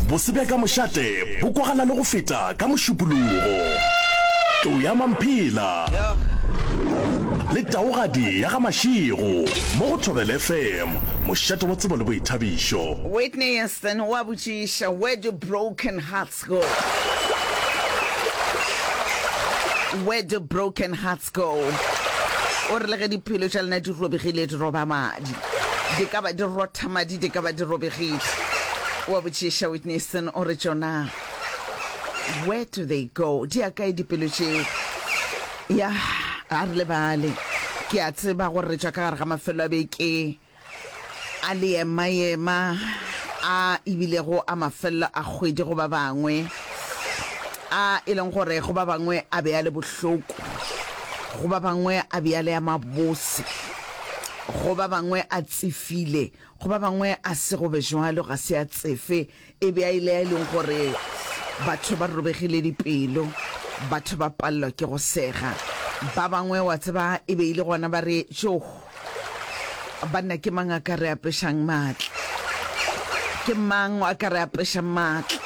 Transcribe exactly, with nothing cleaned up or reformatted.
Bose bja ka mošate bo kwagala le go feta ka Mošupologo. Tlou ya Mamphela le Taugadi ya ga Mashego mo go Thobela F M, mošate wa tsebo le boithabišo. Whitney Houston o a botšiša, "Where do broken hearts go? Where do broken hearts go?" O re le ge dipelo tša lena di robegile, di roba madi, di ka ba di rotha madi, di ka ba di robegile. O a botšiša Whitney Houston, o re tšona, where do they go? Di ya kae dipelo tšeo? Ya, a re lebale. Ke a tseba gore re tšwa ka gare ga mafelo a beke a leema-ema a ebilego a mafelelo a kgwedi go ba bangwe, a e leng gore go ba bangwe a be a le bohloko, go ba bangwe a be a le a mabose, go ba bangwe a tsefile, go ba bangwe a se go be jwalo, ga se a tsefe, e be a ile a e leng gore batho ba robegile dipelo, batho ba palelwa ke go sega. Ba bangwe wa tseba e be e le gona ba re, "Tšoh, banna, ke mang a ka re apešang maatla? Ke mang a ka re apešang maatla?"